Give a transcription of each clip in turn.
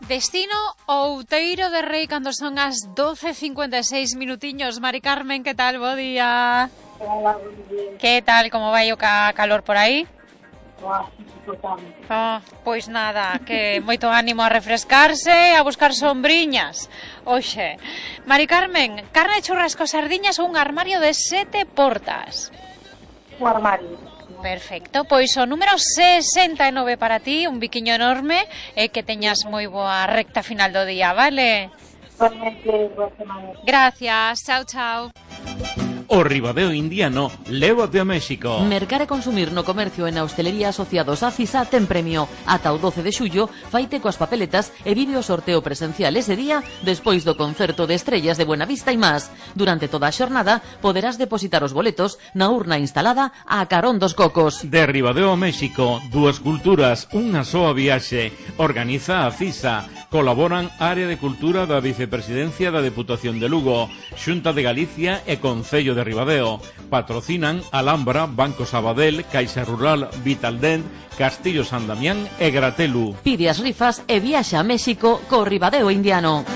Destino Outeiro de Rei cando son as 12:56 minutiños. Mari Carmen, que tal? Bo día. Hola, Que tal? Como vai o calor por aí? insoportable. Pois nada, que moito ánimo a refrescarse, a buscar sombriñas. Oxe, Mari Carmen, carne, churrasco, sardiñas ou un armario de 7 portas? O armario. Perfecto, pois o número 69 para ti, un biquiño enorme e que teñas moi boa recta final do día, vale? Igualmente, boa semana. Gracias, chao, chao. O Ribadeo Indiano, lévate a México. Mercar e consumir no comercio e na hostelería asociados a CISA ten premio. Ata o 12 de xullo, faite coas papeletas e vive o sorteo presencial ese día despois do concerto de estrellas de Buenavista e más. Durante toda a xornada poderás depositar os boletos na urna instalada a carón dos cocos. De Ribadeo a México, dúas culturas, unha soa viaxe. Organiza a CISA. Colaboran Área de Cultura da Vicepresidencia da Deputación de Lugo, Xunta de Galicia e Concello de Ribadeo. Patrocinan Alhambra, Banco Sabadell, Caixa Rural, Vitaldent, Castillo San Damián e Gratelu. Pide as rifas e viaxa a México co Ribadeo Indiano.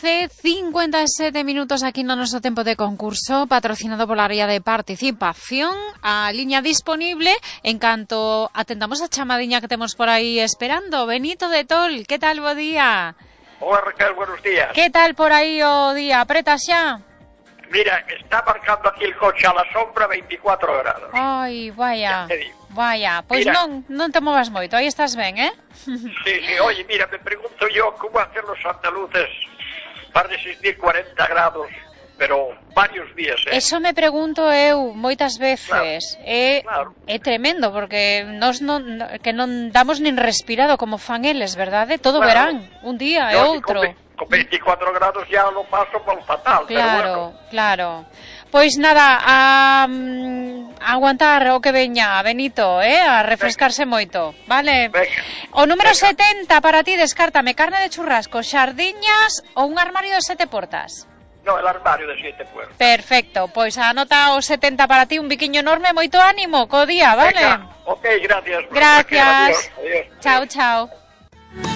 12:57 minutos aquí no noso tempo de concurso, patrocinado pola área de participación. A liña disponible en canto atendamos a chamadiña que temos por aí esperando. Benito de Tol, que tal, bo día? Hola Raquel, buenos días. Que tal por aí o día? Apreta xa? Mira, está marcando aquí el coche a la sombra 24 grados. Ai, vaya, Ya te digo. vaya. Pois Mira. non te movas moito, aí estás ben, eh? Sí, oye, mira, me pregunto yo cómo hacen los andaluces para resistir 40 grados, pero varios días, ¿eh? Eso me pregunto eu moitas veces. Claro. É tremendo, porque nos que non damos nin respirado como fan eles, verdade? Todo Claro. verán, un día e Yo outro. con 24 grados ya lo paso por fatal, pero Claro, bueno. claro. Pois nada, a aguantar o que veña, Benito, a refrescarse moito, vale? Venga. O número Venga. 70 para ti, descártame carne de churrasco, sardiñas ou un armario de 7 portas. No, el armario de 7 puertas. Perfecto, pois anota o 70 para ti, un biquiño enorme, moito ánimo co día, vale? Venga. Ok, gracias. Gracias. Adiós, adiós. Chao, chao.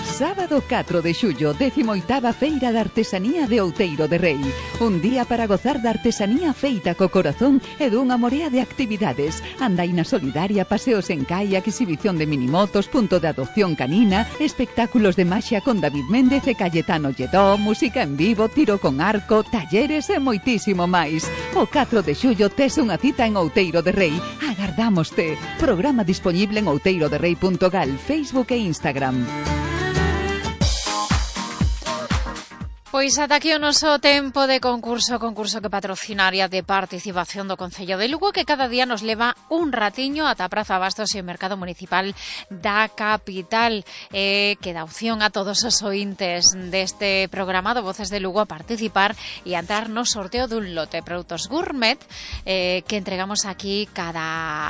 Sábado 4 de xullo, 18ª Feira da Artesanía de Outeiro de Rei. Un día para gozar da artesanía feita co corazón e dunha morea de actividades. Andaina solidaria, paseos en kayak, exhibición de minimotos, punto de adopción canina, espectáculos de maxia con David Méndez e Cayetano Lledó, música en vivo, tiro con arco, talleres e moitísimo máis. O 4 de xullo tes unha cita en Outeiro de Rei. Agardámoste. Programa disponible en outeiroderrei.gal, Facebook e Instagram. Pois ata aquí o noso tempo de concurso que patrocina a área de participación do Concello de Lugo, que cada día nos leva un ratiño ata a Praza Bastos e o Mercado Municipal da capital, que dá opción a todos os ointes deste programa do Voces de Lugo a participar e a entrar no sorteo dun lote de produtos gourmet que entregamos aquí cada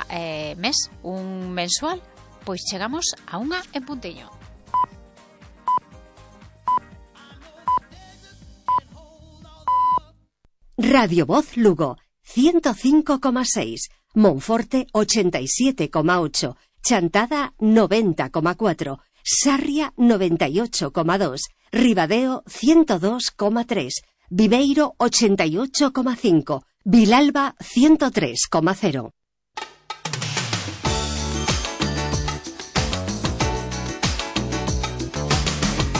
mes, un mensual. Pois chegamos a unha en puntiño. Radio Voz Lugo, 105,6, Monforte 87,8, Chantada 90,4, Sarria 98,2, Ribadeo 102,3, Viveiro 88,5, Vilalba 103,0.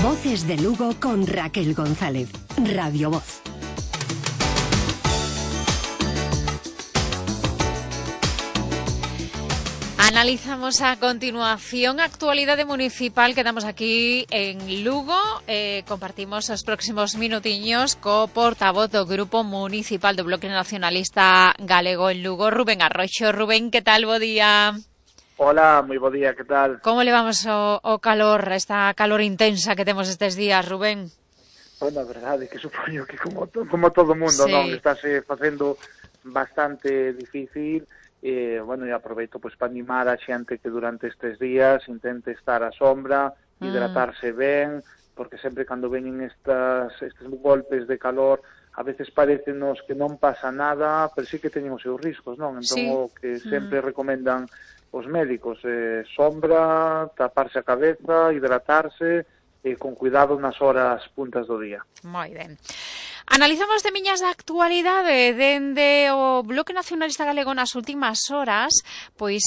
Voces de Lugo con Raquel González. Radio Voz. Analizamos a continuación a actualidade municipal que damos aquí en Lugo. Compartimos os próximos minutiños co portavoz do Grupo Municipal do Bloque Nacionalista Galego en Lugo, Rubén Arroxo. Rubén, que tal? Bo día. Hola, moi bo día, que tal? Como levamos o calor, esta calor intensa que temos estes días, Rubén? Bueno, a verdade que supoño que como todo mundo, Sí. non? Estáse facendo bastante difícil. Bueno, e aproveito pois para animar a xente que durante estes días intente estar á sombra, hidratarse ben, porque sempre cando veñen estes golpes de calor, a veces parecenos que non pasa nada, pero sí que teñen os seus riscos, non? Entón Sí. o que sempre recomendan os médicos, sombra, taparse a cabeza, hidratarse, con cuidado nas horas puntas do día. Moi ben. Analizamos de miñas da actualidade dende o Bloque Nacionalista Galego nas últimas horas, pois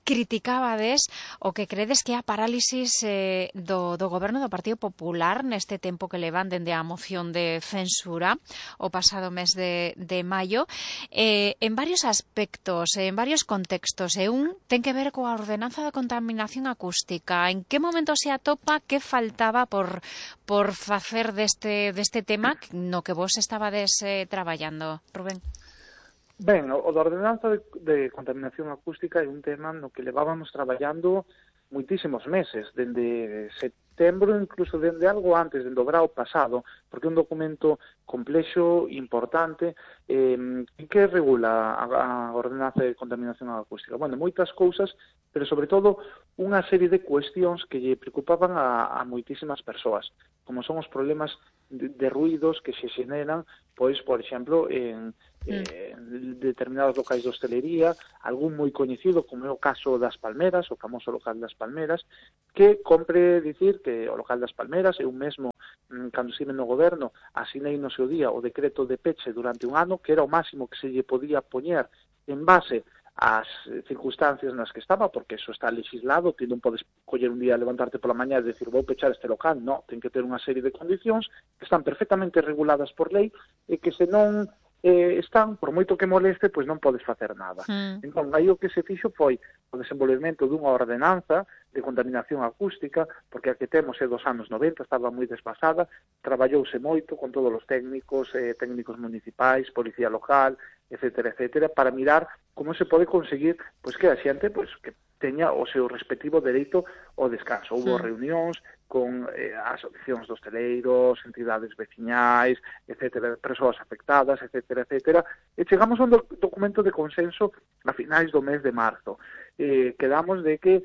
criticabades o que credes que é a parálisis do goberno do Partido Popular neste tempo que levan dende a moción de censura o pasado mes de maio, en varios aspectos, en varios contextos, e un ten que ver coa ordenanza de contaminación acústica. En que momento se atopa, que faltaba por facer deste tema no que vos estabades traballando, Rubén? Ben, o da ordenanza de contaminación acústica é un tema no que levábamos traballando moitísimos meses, dende setembro, incluso dende algo antes, dende o verao pasado, porque é un documento complexo, importante, que regula a ordenanza de contaminación acústica. Bueno, moitas cousas, pero sobre todo unha serie de cuestións que lle preocupaban a moitísimas persoas, como son os problemas de ruidos que se xeneran, pois, por exemplo, en determinados locais de hostelería, algún moi coñecido, como é o caso das Palmeras, o famoso local das Palmeras, que compre dicir que o local das Palmeras, eu mesmo, cando estive no goberno, asinei no seu día o decreto de peche durante un ano, que era o máximo que se lle podía poñer en base as circunstancias nas que estaba, porque eso está legislado, que non podes coller un día, levantarte pola mañá e decir vou pechar este local, non, ten que ter unha serie de condicións que están perfectamente reguladas por lei e que se non están, por moito que moleste, pois non podes facer nada. Entón, aí o que se fixo foi o desenvolvemento dunha ordenanza de contaminación acústica, porque a que temos é dos anos 90, estaba moi desfasada, traballouse moito con todos os técnicos municipais, policía local, etcétera, para mirar como se pode conseguir pois que a xente pois que teña o seu respectivo dereito ao descanso. Houve reunións con asociacións de hosteleiros, entidades veciñais, etcétera, persoas afectadas, etcétera, e chegamos a un documento de consenso a finais do mes de marzo. Quedamos de que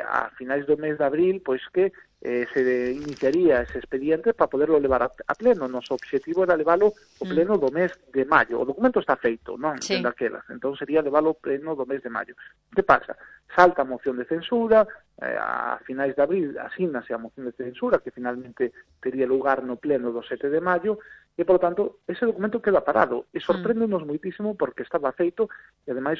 a finais do mes de abril, pois que se iniciaría ese expediente para poderlo levar a pleno. Noso obxectivo era leválo ao pleno do mes de maio. O documento está feito, non? Sí. Daquelas. Entón sería leválo ao pleno do mes de maio. Que pasa? Salta a moción de censura, a finais de abril asínase a moción de censura, que finalmente tería lugar no pleno do 7 de maio, e, por lo tanto, ese documento queda parado. E sorpréndenos moitísimo porque estaba feito, e, ademais,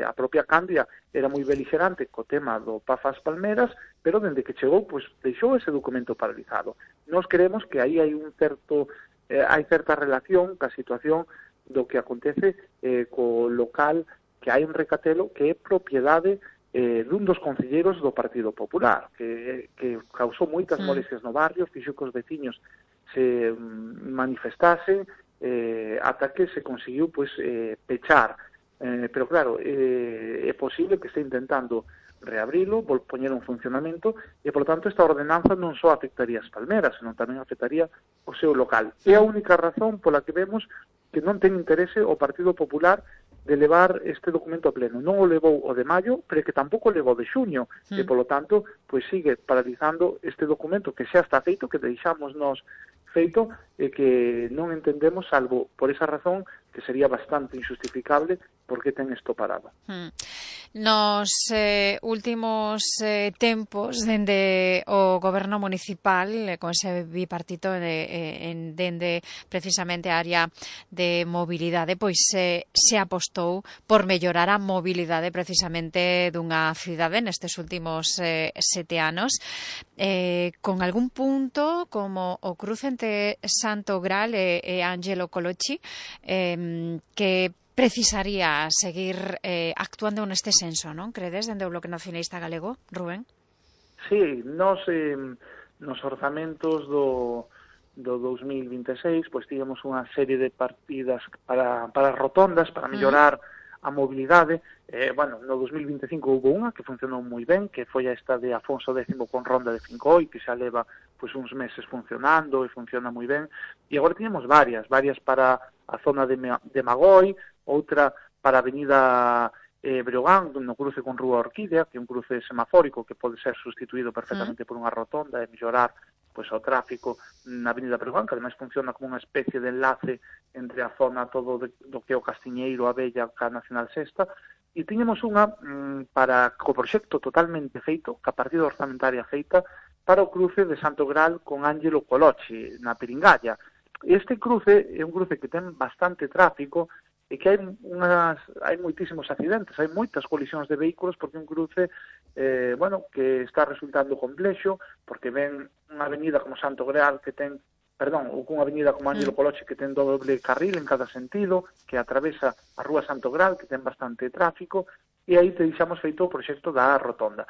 a propia Candia era moi beligerante co tema do Pafas Palmeras, pero, dende que chegou, pois, deixou ese documento paralizado. Nos creemos que aí hai hai certa relación ca situación do que acontece co local que hai en Recatelo, que é propiedade dun dos concelleiros do Partido Popular, que causou moitas molestias no barrio, fixo que os veciños se manifestasen ata que se conseguiu pois pechar. Pero claro, é posible que este intentando reabrilo, poñer un funcionamento, e, por lo tanto, esta ordenanza non só afectaría as Palmeras, senón tamén afectaría o seu local. É a única razón pola que vemos que non ten interese o Partido Popular de levar este documento a pleno. Non o levou o de maio, pero que tampouco o levou de xuño, e, polo tanto, pois sigue paralizando este documento que xa está feito, que deixamos nos feito, e que non entendemos, salvo por esa razón, que sería bastante injustificable, porque ten isto parado. Nos últimos tempos, dende o goberno municipal, con ese bipartito dende precisamente a área de mobilidade, pois se apostou por mellorar a mobilidade precisamente dunha cidade nestes últimos 7 anos, con algún punto como o cruce entre Santo Gral e Ángelo Colocci, que precisaría seguir actuando neste senso, non? Credes, dende o Bloque Nacionalista Galego, Rubén? Sí, nos orzamentos do 2026, pois tivemos unha serie de partidas para rotondas, para mellorar a mobilidade. No 2025 houve unha que funcionou moi ben, que foi esta de Afonso X con ronda de Fincoi, que xa leva pois uns meses funcionando e funciona moi ben. E agora tínhamos varias para a zona de Magoi, outra para a avenida Breogán, no cruce con Rúa Orquídea, que é un cruce semafórico que pode ser sustituído perfectamente por unha rotonda e mellorar pois o tráfico na avenida Breogán, que ademais funciona como unha especie de enlace entre a zona todo do que é o Castiñeiro, a Bella, a Nacional Sexta, E tiñamos unha para co proxecto totalmente feito, ca partida orzamentaria feita, para o cruce de Santo Graal con Ángelo Coloche, na Piringalla. Este cruce é un cruce que ten bastante tráfico e que hai moitísimos accidentes, hai moitas colisións de vehículos porque é un cruce que está resultando complexo, porque ven unha avenida como Santo Graal que ten, ou cunha avenida como Ángelo Coloche que ten doble carril en cada sentido, que atravesa a rúa Santo Graal, que ten bastante tráfico, e aí te deixamos feito o proxecto da rotonda.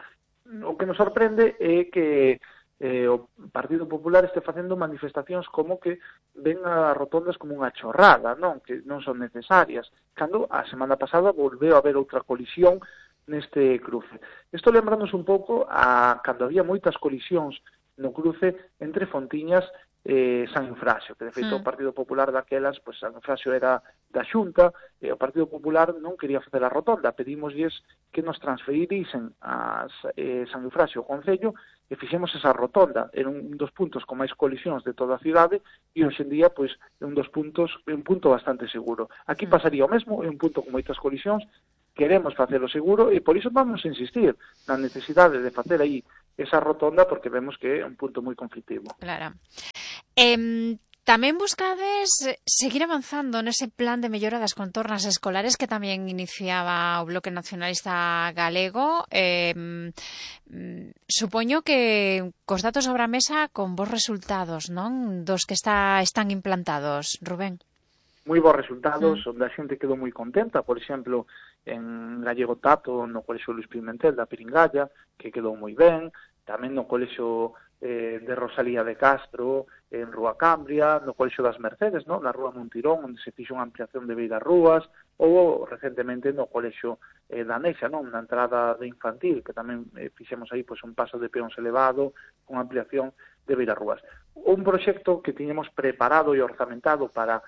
O que nos sorprende é que o Partido Popular este facendo manifestacións como que ven as rotondas como unha chorrada, non? Que non son necesarias, cando a semana pasada volveu a haber outra colisión neste cruce. Isto lembramos un pouco a cando había moitas colisións no cruce entre Fontiñas e San Eufrasio, que de feito o Partido Popular daquelas, pois San Eufrasio era da Xunta, e o Partido Popular non quería facer a rotonda, pedímoslles que nos transferirisen a San Eufrasio ao Concello e fixemos esa rotonda. Era un dos puntos con máis colisións de toda a cidade e hoxe en día pois é un punto bastante seguro. Aquí pasaría o mesmo, é un punto con moitas colisións, queremos facelo seguro e por iso vamos a insistir na necesidade de facer aí esa rotonda porque vemos que é un punto moi conflictivo. Claro. Tamén buscades seguir avanzando nese plan de mellora das contornas escolares que tamén iniciaba o Bloque Nacionalista Galego. Supoño que cos datos sobre a mesa con bons resultados, non? Dos que están implantados, Rubén. Moi bons resultados, onde a xente quedou moi contenta, por exemplo, en Gallego Tato, no Colexio Luis Pimentel da Piringalla, que quedou moi ben, tamén no Colexio de Rosalía de Castro, en Rúa Cambria, no Colexio das Mercedes, no? Na Rúa Montirón, onde se fixo unha ampliación de Beiras Rúas, ou recentemente no Colexio da Nexa, non? Na entrada de infantil, que tamén fixemos aí pois, un paso de peóns elevado, con ampliación de Beiras Rúas. Un proxecto que tiñamos preparado e orzamentado para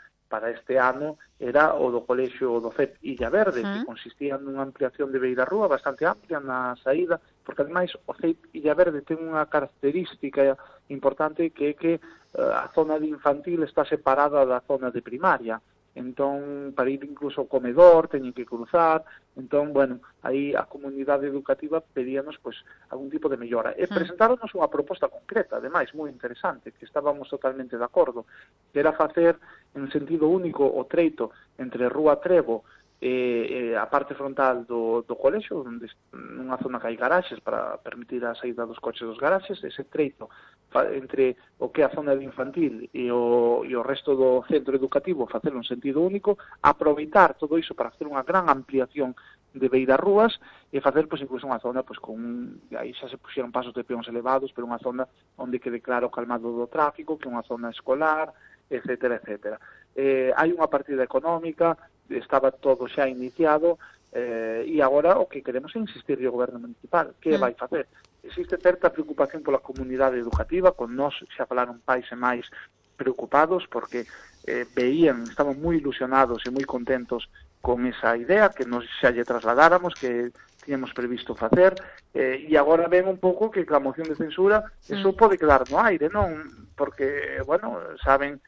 este ano era o do Colexio do CEP Illa Verde, que consistía nunha ampliación de Beira Rúa bastante amplia na saída, porque ademais o CEP Illa Verde ten unha característica importante que é que a zona de infantil está separada da zona de primaria. Entón, para ir incluso ao comedor, teñen que cruzar. Entón, bueno, aí a comunidade educativa pedíanos pois, algún tipo de mellora. E presentáronos unha proposta concreta, ademais, moi interesante, que estábamos totalmente de acordo, que era facer en sentido único o treito entre Rúa Trevo e a parte frontal do colexio, onde nunha zona que hai garaxes para permitir a saída dos coches dos garaxes, ese treito entre o que é a zona de infantil e o resto do centro educativo, facelo en sentido único, aproveitar todo iso para facer unha gran ampliación de Beiras Rúas e facer pois, incluso unha zona pois, aí xa se puxeron pasos de peóns elevados, pero unha zona onde quede claro o calmado do tráfico, que é unha zona escolar, etcétera, etcétera. Hai unha partida económica, estaba todo xa iniciado, e agora o que queremos é insistir o goberno municipal. Que vai facer? Existe certa preocupación pola comunidade educativa, con nós xa falaron pais e máis preocupados, porque estaban moi ilusionados e moi contentos con esa idea que nos xa lle trasladáramos, que tiñamos previsto facer, e agora ven un pouco que a moción de censura eso pode quedar no aire, non? Porque, bueno, saben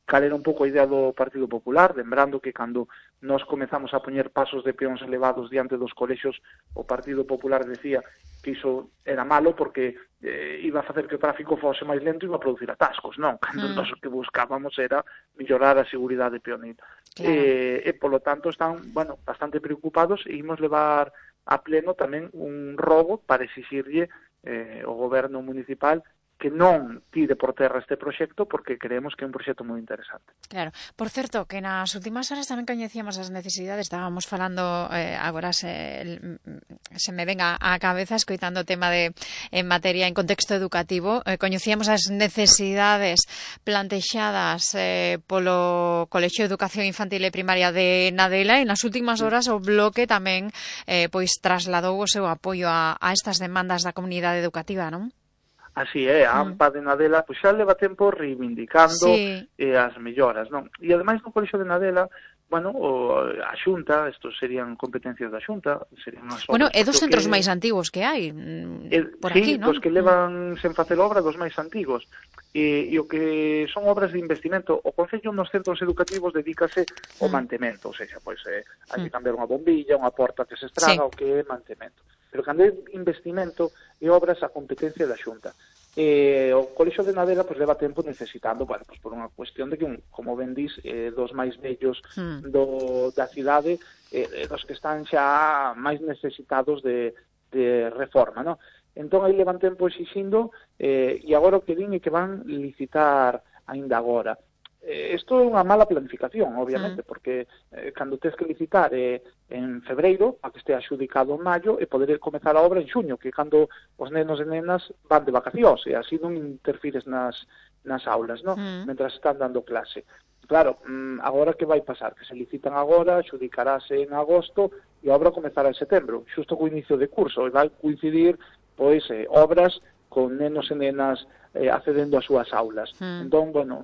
cal era un pouco a idea do Partido Popular, lembrando que cando nós comezamos a poñer pasos de peóns elevados diante dos colexios, o Partido Popular decía que iso era malo porque iba a facer que o tráfico fose máis lento e iba a producir atascos, non? Cando nós o que buscábamos era mellorar a seguridade peonil. Claro. E polo tanto están, bueno, bastante preocupados e imos levar a pleno tamén un rogo para exixirlle o goberno municipal que non tire por terra este proxecto porque creemos que é un proxecto moi interesante. Claro. Por certo, que nas últimas horas tamén coñecíamos as necesidades, estábamos falando, agora se me venga á cabeza escoitando o tema en materia en contexto educativo, coñecíamos as necesidades plantexadas polo Colexio de Educación Infantil e Primaria de Nadela e nas últimas horas o Bloque tamén pois trasladou o seu apoio a estas demandas da comunidade educativa, non? Así é, a AMPA de Nadela pois xa leva tempo reivindicando as melloras, non? E ademais no Colexio de Nadela bueno, a Xunta, estos serían competencias da Xunta, serían as obras. Bueno, é dos centros máis antigos que hai por aquí, non? Sí, dos que levan sen facer obra dos máis antigos. E o que son obras de investimento, o Concello nos centros educativos dedícase ao mantemento, ou seja, pois hai que cambiar unha bombilla, unha porta que se estraga, o que é mantemento. Pero cando é investimento e obras a competencia da Xunta. O Colexio de Nadela pues leva tempo necesitando, bueno, pues por unha cuestión de que, como ben dis, dos máis vellos da cidade, dos que están xa máis necesitados de reforma, non? Entón aí levan tempo exixindo e agora o que din é que van licitar aínda agora. Isto é unha mala planificación, obviamente, porque cando tens que licitar en febreiro, a que este adxudicado en maio, e poder comezar a obra en xuño, que cando os nenos e nenas van de vacacións, e así non interfires nas aulas, non? Mentras están dando clase. Claro, agora que vai pasar? Que se licitan agora, adxudicarase en agosto, e a obra comezará en setembro, xusto co inicio de curso, e vai coincidir, pois, obras con nenos e nenas accedendo ás súas aulas. Entón, bueno,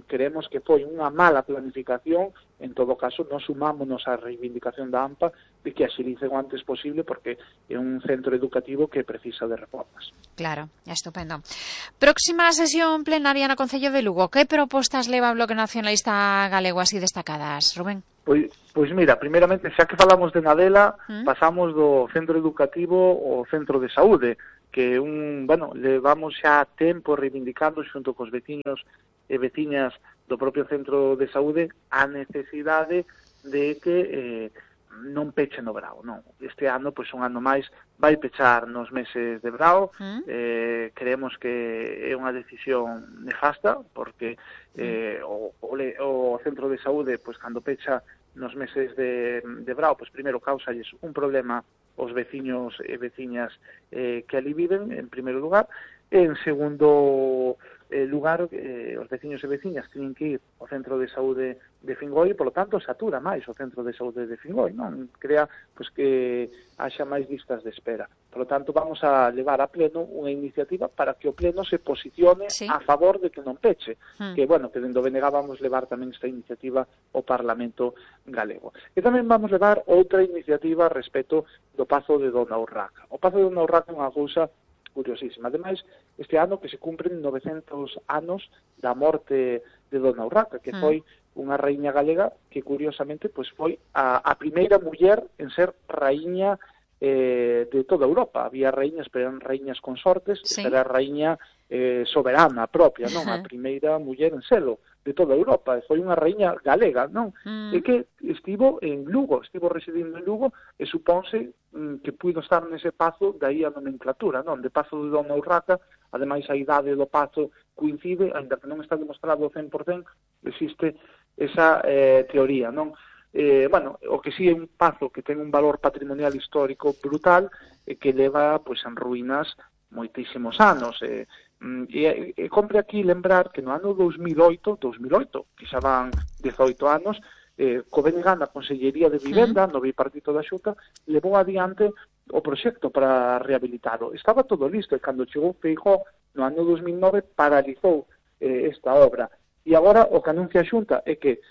creemos que foi unha mala planificación, en todo caso, nos sumámonos á reivindicación da AMPA de que axilice o antes posible porque é un centro educativo que precisa de reformas. Claro, estupendo. Próxima sesión plenaria no Concello de Lugo. Que propostas leva o Bloque Nacionalista Galego así destacadas, Rubén? Pois mira, primeiramente, xa que falamos de Nadela, pasamos do centro educativo ao centro de saúde, que levamos xa tempo reivindicando xunto cos veciños e veciñas do propio centro de saúde a necesidade de que non peche no verao, non. Este ano, pois un ano máis, vai pechar nos meses de verao, creemos que é unha decisión nefasta, porque o centro de saúde, pois cando pecha nos meses de verao, pois primeiro causalles un problema os veciños e veciñas que ali viven, en primeiro lugar, e en segundo lugar, os veciños e veciñas teñen que ir ao centro de saúde de Fingoi e, polo tanto, satura máis o centro de saúde de Fingoi, non? Crea pois, que haxa máis listas de espera. Por lo tanto, vamos a levar a pleno unha iniciativa para que o pleno se posicione a favor de que non peche. Que, bueno, que dentro BNG vamos levar tamén esta iniciativa ao Parlamento galego. E tamén vamos levar outra iniciativa respecto do Pazo de Dona Urraca. O Pazo de Dona Urraca é unha cousa curiosísima. Ademais, este ano que se cumpren 900 anos da morte de Dona Urraca, que foi unha raíña galega que, curiosamente, pois foi a primeira muller en ser raíña de toda Europa. Había raíñas, pero eran raíñas consortes, era raíña soberana propia, non? A primeira muller en selo de toda Europa, foi unha raíña galega, non? E que estivo en Lugo, estivo residindo en Lugo, e supónse que puido estar nese pazo, daí a nomenclatura, non? De Pazo de Dona Urraca, ademais a idade do pazo coincide, ainda que non está demostrado ao 100%, existe esa teoría, non? O que sí é un pazo que ten un valor patrimonial histórico brutal e que leva pois en ruínas moitísimos anos. E compre aquí lembrar que no ano 2008, que xa van 18 anos, co BNG na Consellería de Vivenda, no bipartito da Xunta, levou adiante o proxecto para rehabilitalo. Estaba todo listo e cando chegou Feijóo no ano 2009 paralizou esta obra. E agora o que anuncia a Xunta é que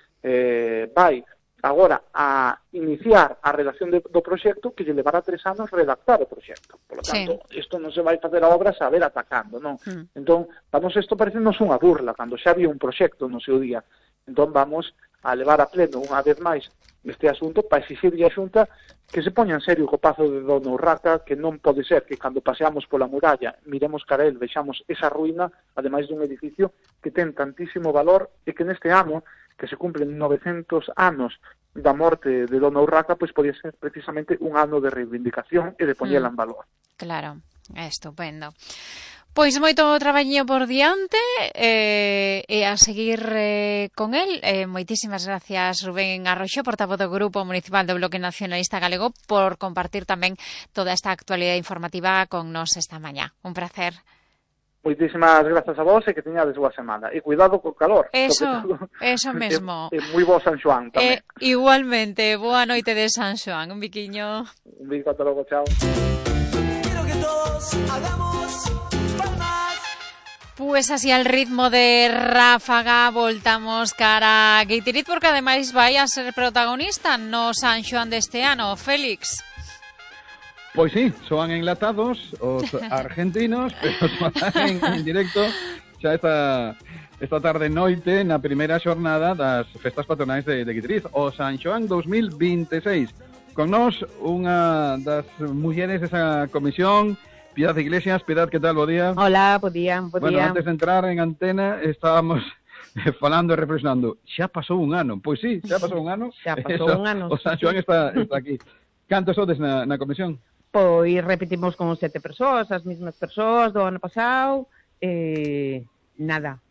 vai agora a iniciar a redacción do proxecto que lle levará 3 anos redactar o proxecto. Por lo tanto, isto non se vai facer a obra saber atacando, non? Entón, vamos, isto parecendos unha burla, cando xa había un proxecto no seu día. Entón, vamos a levar a pleno unha vez máis este asunto para exigirlle a Xunta que se poña en serio co Pazo de Dona Urraca, que non pode ser que cando paseamos pola muralla miremos cara a el, vexamos esa ruína, ademais dun edificio que ten tantísimo valor e que neste ano que se cumplen 900 anos da morte de Dona Urraca, pois podía ser precisamente un ano de reivindicación e de poñela en valor. Claro, estupendo. Pois moito traballiño por diante e a seguir con el. Moitísimas gracias, Rubén Arroxo, portavoz do Grupo Municipal do Bloque Nacionalista Galego, por compartir tamén toda esta actualidade informativa con nos esta mañá. Un placer. Moitísimas grazas a vos e que teñades boa semana. E cuidado co calor. Eso mesmo. E moi bo San Xoán tamén. Igualmente, boa noite de San Xoán. Un biquiño. Un bico, ata logo, chao. Quiero que todos hagamos palmas. Pues así al ritmo de ráfaga voltamos cara a Guitiriz, porque ademais vai a ser protagonista no San Xoán deste ano, Félix. Pois sí, soan enlatados os argentinos, pero soan en directo xa esta tarde noite na primeira xornada das festas patronais de Guitiriz, o San Xoán 2026. Con nós unha das mulleres desa comisión, Piedad Iglesias. Piedad, ¿qué tal? Bo día. Hola, bo día. Bueno, antes de entrar en antena estábamos falando e reflexionando. Xa pasou un ano. Pois sí, xa pasou un ano. Xa pasou un ano. O San Xoán está aquí. Cantos sodes na comisión? Pois repetimos con 7 persoas, as mesmas persoas do ano pasado. Nada,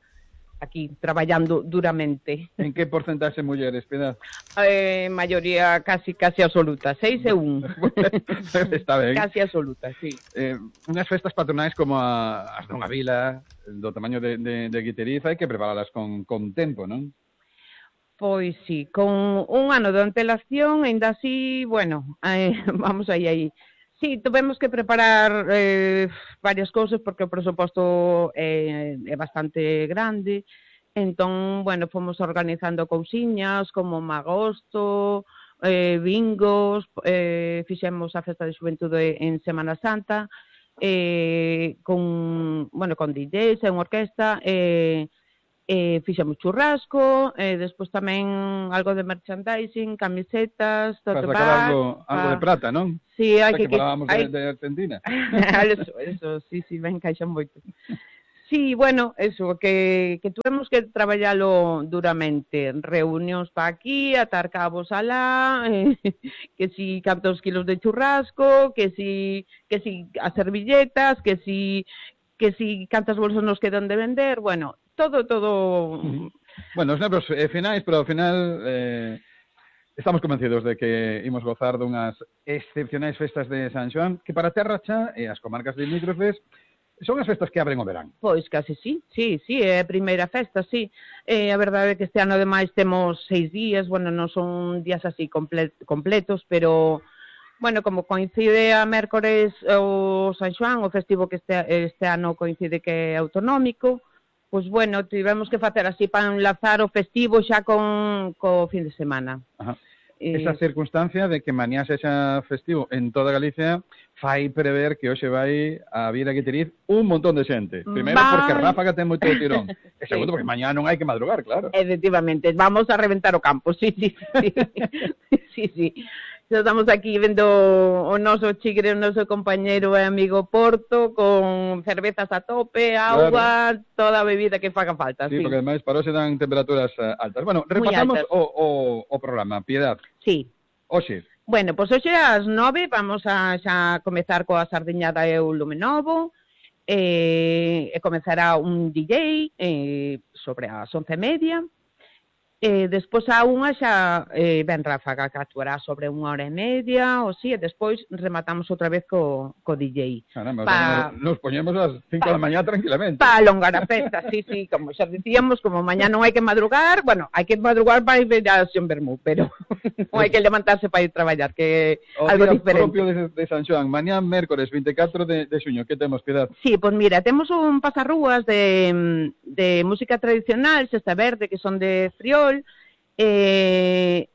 aquí traballando duramente. En que porcentaxe mulleres, Piedad? Maioría casi absoluta, 6 e 1. Está ben. Casi absoluta, sí. Unhas festas patronais como as dunha vila, do tamaño de Guitiriz, hai que preparalas con tempo, non? Pois sí, con un ano de antelación, ainda así, bueno, vamos aí. Sí, tuvemos que preparar varias cousas porque o presuposto é bastante grande. Entón, bueno, fomos organizando cousiñas como magosto, bingos, fixemos a festa de xuventude en Semana Santa, con DJs e unha orquesta, fixemos churrasco, despois tamén algo de merchandising, camisetas, tote bag. Algo de prata, non? Sí, hai que falábamos de Argentina. Eso, sí, ben caixan moito. Sí, bueno, eso, que tuvemos que traballalo duramente, reunións pa aquí, atar cabos alá, que si cantos kilos de churrasco, que si as servilletas, que si cantas bolsas nos quedan de vender, bueno, todo. Bueno, os nervios finais, pero ao final estamos convencidos de que imos gozar dunhas excepcionais festas de San Xoán, que para Terra Cha e as comarcas limítrofes son as festas que abren o verán. Pois casi sí, é a primeira festa, sí. A verdade é que este ano ademais temos 6 días, bueno, non son días así completos, pero bueno, como coincide a mércores o San Xoán, o festivo que este ano coincide que é autonómico, pois bueno, tivemos que facer así para enlazar o festivo xa co fin de semana. Ajá. Esa circunstancia de que mañá sexa festivo en toda Galicia fai prever que hoxe vai a vir a Guitiriz un montón de xente. Primeiro porque Ráfaga ten moito tirón. E segundo porque mañá non hai que madrugar, claro. Efectivamente, vamos a reventar o campo, sí. Sí. Estamos aquí vendo o noso chigre, o noso compañeiro e amigo Porto, con cervezas a tope, agua, claro. Toda a bebida que faga falta. Sí, porque ademais para hoxe dan temperaturas altas. Bueno, repasamos o programa, Piedad. Sí. Hoxe. Bueno, pois hoxe ás 9 vamos a xa comezar coa sardiñada e o lume novo, e comezará un DJ sobre as 11:30. Despois a unha xa ben Ráfaga, que actuará sobre 1h30 ou si, e despois rematamos outra vez co DJ. Caramba, nos poñemos ás 5 da mañá tranquilamente. Para alongar a festa, sí, como xa dicíamos, como mañá non hai que madrugar, bueno, hai que madrugar para ir a Sion Bermú, pero non hai que levantarse para ir traballar, que é algo diferente. O día propio de San Xoán, mañá mércores 24 de xuño, que temos, Piedad? Sí, pois mira, temos un pasarrúas de música tradicional, Xesta Verde, que son de Friol, que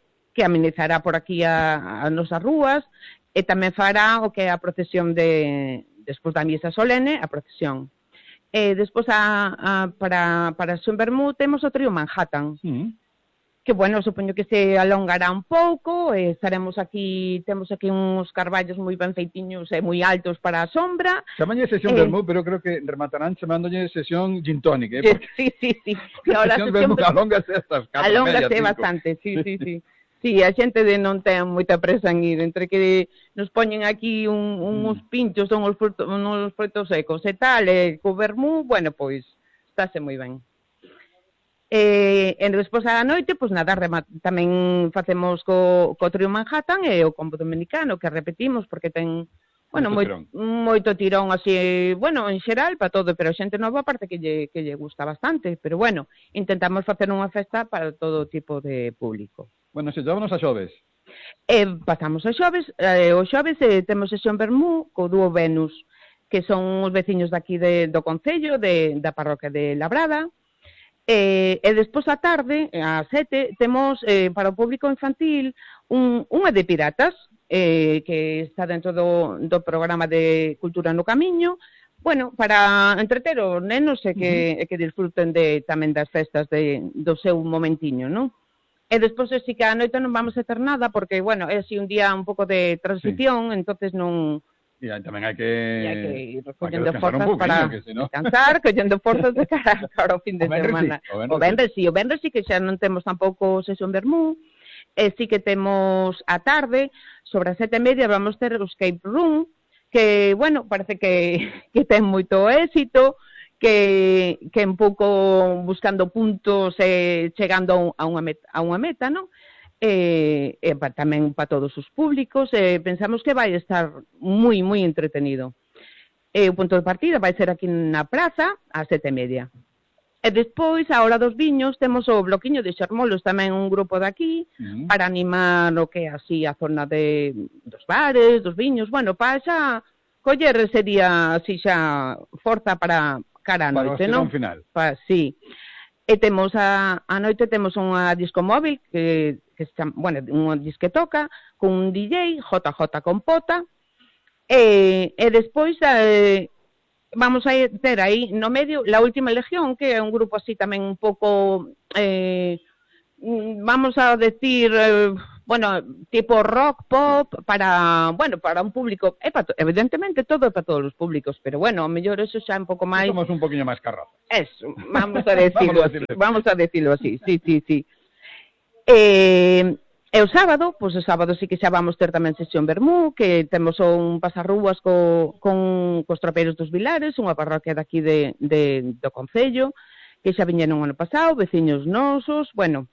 amenizará por aquí a nosas rúas, e tamén fará o que é a procesión despois da misa solene, a procesión. Despois para Sion Bermú temos o trío Manhattan, que, bueno, supoño que se alongará un pouco, estaremos aquí, temos aquí uns carballos moi ben feitiños e moi altos para a sombra. Chamañe sesión Bermú, pero creo que rematarán chamándolle sesión gin tonic, porque... Sí. A sesión Bermú alóngase estas 4 alóngase bastante, sí. Sí, a xente non ten moita presa en ir, entre que nos poñen aquí uns pinchos, son uns frutos secos e tal, e co vermú, bueno, pois, estáse moi ben. E despois a noite, pois nada, tamén facemos co trío Manhattan e o combo dominicano, que repetimos, porque ten, bueno, moito tirón así, bueno, en xeral, para todo, pero a xente nova aparte que lle gusta bastante, pero bueno, intentamos facer unha festa para todo tipo de público. Bueno, se llevámonos a xoves. Pasamos a xoves, o xoves temos sesión Bermú co dúo Venus, que son os veciños daqui do Concello, da parroquia de Labrada. E despois á tarde, ás 7, temos para o público infantil unha de piratas, que está dentro do programa de Cultura no Camiño, bueno, para entreter os nenos e que disfruten tamén das festas do seu momentiño, non? E despois sí que a noite non vamos a ter nada, porque, bueno, é así un día un pouco de transición, entonces non... E tamén hai que ir recollendo forzas para descansar, collendo forzas de cara ao fin de semana. O venres sí que xa non temos tampouco sesión vermú, sí que temos a tarde, sobre as 7:30 vamos ter o escape room, que, bueno, parece que ten moito éxito, que un pouco buscando puntos e chegando a unha meta, non? Tamén para todos os públicos, pensamos que vai estar moi, moi entretenido. O punto de partida vai ser aquí na praza, ás 7:30. E despois, a hora dos viños, temos o bloquiño de Xermolos, tamén un grupo daqui, para animar o que é así a zona dos bares, dos viños, bueno, para xa coller ese día así xa forza para cara a noite, non? Para o final. Sí. E temos a noite temos unha disco móvil que se chama, bueno, unha disquetoca con un DJ, JJ Compota, e despois vamos a ter aí no medio La Última Legión, que é un grupo así tamén un pouco, vamos a decir, bueno, tipo rock, pop, para un público, evidentemente todo é para todos os públicos, pero bueno, ao mellor eso xa un pouco máis... Somos un poquinho máis carrazas. Eso, vamos a decirlo así, sí. E o sábado sí que xa vamos ter tamén sesión vermú, que temos un pasarrúas cos tropeiros dos Vilares, unha parroquia daqui do Concello, que xa viñeron o ano pasado, veciños nosos, bueno.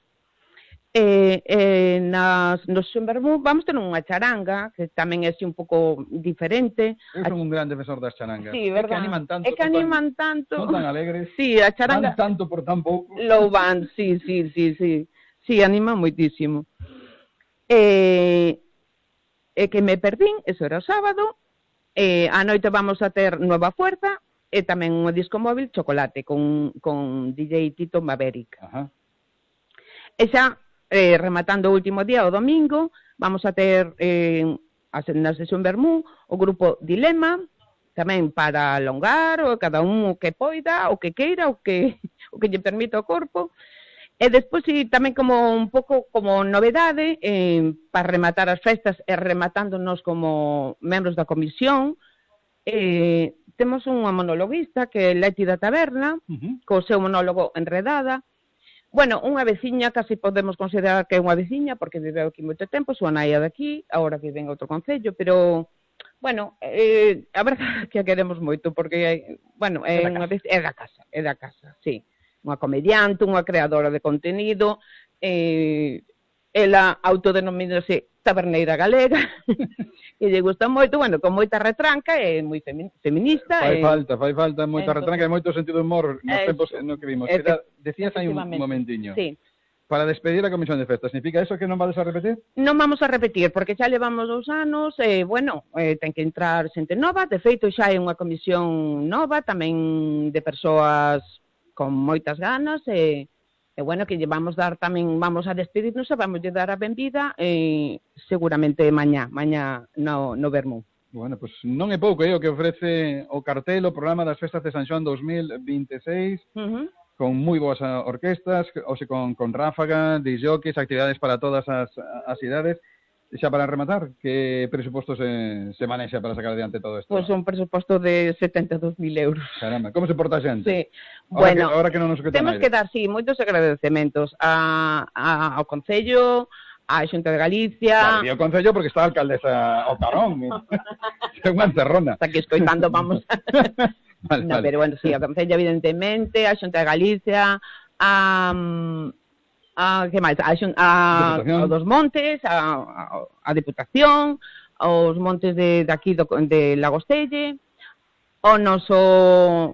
No sesión vermú vamos ter unha charanga, que tamén é así un pouco diferente. Eu son un gran defensor das charangas. Sí, verdad. É que animan tanto. Son tan alegres. Sí, a charanga... Van tanto por tan pouco. Lo van, sí. Sí, animan moitísimo. Que me perdín, eso era o sábado, a noite vamos a ter Nueva Fuerza e tamén un disco móvil Chocolate con DJ Tito Maverick. Ajá. E xa, rematando o último día, o domingo, vamos a ter na sesión vermú o grupo Dilema, tamén para alongar, o cada un o que poida, o que queira, o que lle permita o corpo. E despois, tamén como un pouco como novedade, para rematar as festas e rematándonos como membros da comisión, temos unha monologuista que é Leti da Taberna, co seu monólogo Enredada. Bueno, unha veciña, casi podemos considerar que é unha veciña, porque viveu aquí moito tempo, súa naia daqui, agora vive en outro concello, pero, bueno, a verdade é que a queremos moito, porque, bueno, é da casa, sí. Unha comediante, unha creadora de contenido, ela autodenomínase taberneira galega, e lle gusta moito, bueno, con moita retranca, é moi feminista. Fai falta moita retranca e moito sentido de humor nos tempos no que vimos. Decías aí un momentiño. Sí. Para despedir a Comisión de Festas, significa eso que non vades a repetir? Non vamos a repetir, porque xa levamos 2 anos, bueno, ten que entrar xente nova, de feito xa hai unha comisión nova, tamén de persoas con moitas ganas, e bueno, que vamos dar tamén, vamos a despedirnos e vamos a dar a benvida seguramente mañá no Vermú. Bueno, pues non é pouco o que ofrece o cartel, o programa das Festas de San Xoán 2026, con moi boas orquestas, con ráfaga, disjockeys, actividades para todas as idades. Xa para rematar, que presuposto se manexa para sacar adiante todo isto? Pois un presuposto de 72.000 euros. Caramba, como se porta a xente? Sí. Bueno, ahora que non nos suquetan temos que dar, sí, moitos agradecementos ao Concello, á Xunta de Galicia... Claro, e ao Concello porque está a alcaldesa o Carón. É unha encerrona. Está aquí escoitando, vamos... Vale. Pero bueno, sí, ao Concello, evidentemente, á Xunta de Galicia, que máis? Dos Montes, a Diputación, os Montes de aquí de Lagostelle, o noso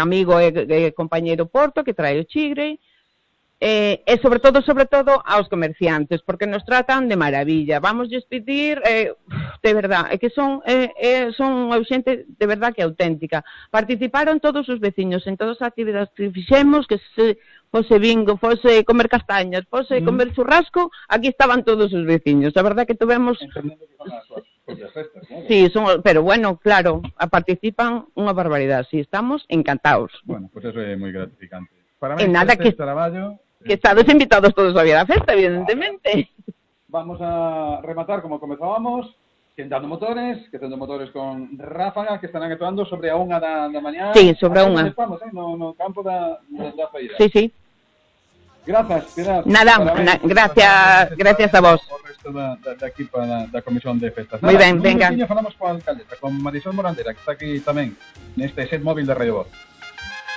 amigo e compañeiro Porto, que trae o Chigre, E sobre todo aos comerciantes, porque nos tratan de maravilla. Vamos despedir, de verdad, é que son xente de verdad que auténtica. Participaron todos os veciños en todas as actividades que fixemos, que se fose bingo, fose comer castañas, fose comer churrasco, aquí estaban todos os veciños. A verdad que tuvemos... Sí, pero bueno, claro, participan unha barbaridade. Sí, estamos encantados. Bueno, pues eso é moi gratificante. Para mí, nada que traballo... Que estades invitados todos a vir a festa, evidentemente. Vamos a rematar como comenzábamos, quentando motores con ráfaga, que estarán actuando sobre a 1 da mañá. Sí, sobre a 1. Estamos, no campo da feira. Sí. Grazas, Pilar. Nada, gracias a vos. O resto da equipa da Comisión de Festas. Moi ben, venga. Falamos coa alcaldesa, con Marisol Morandera, que está aquí tamén, neste set móvil de Radio Voz.